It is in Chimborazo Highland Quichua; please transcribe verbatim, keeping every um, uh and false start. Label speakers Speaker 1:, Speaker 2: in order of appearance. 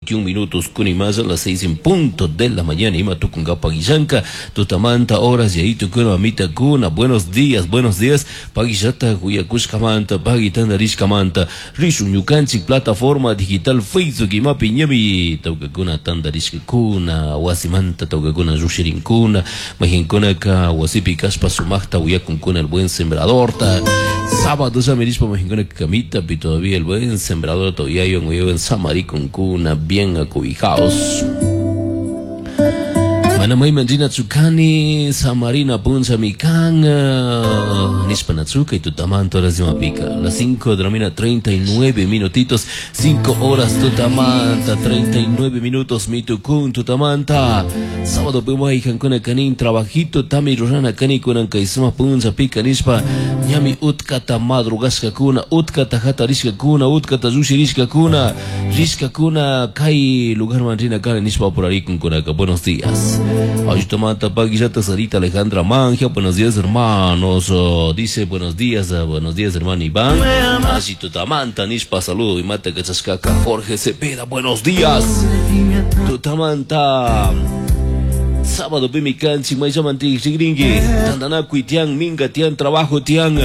Speaker 1: veintiún minutos kunimaya, las seis en punto de la mañana. Ima tukunkapa guillanka, tutamanta horas y ahí tukuna mamita kuna. Buenos días, buenos días. Paguillata huyakushkamanta, paguitandarishkamanta. Rishun ñukanchik plataforma digital Facebook imapi ñami tawkakuna tandarishkakuna, wasimanta tawkakuna llushirinkuna, mahinkunaka wasipi kashpa sumaqta uyakunkuna El Buen Sembradorta. Sábado ya mahinkuna kamita pi todavía El Buen Sembrador todavía uyawan samarikunkuna bien acobijados. Mana mayman rinachu kani, samarina puncha mi kan, nishpa natsuka y tutamanta horas imapika. Las cinco de la mañana, treinta y nueve minutitos, cinco horas tutamanta, treinta y nueve minutos, mitukun tutamanta. Sábado pimay jankuna kanin trabajito, tami rurana kani kunan kaisuma puncha pika nishpa, ñami utkata madrugashka kuna, utkata hatarishka kuna, utkata llushirishka kuna, rishka kuna, kay lugar man rina kani nishpa apurarikun kunaka. Buenos días. Ayutamanta Paguillata Sarita Alejandra Manja, buenos días hermanos, oh, dice buenos días, uh, buenos días hermano Iván. Ayutamanta Nishpa, saludo y mata Cachascaca Jorge Cepeda, buenos días. Tutamanta. Sábado pimicanchi, mayamanti, xigringui, tandanacuy tian, minga tian, trabajo tian.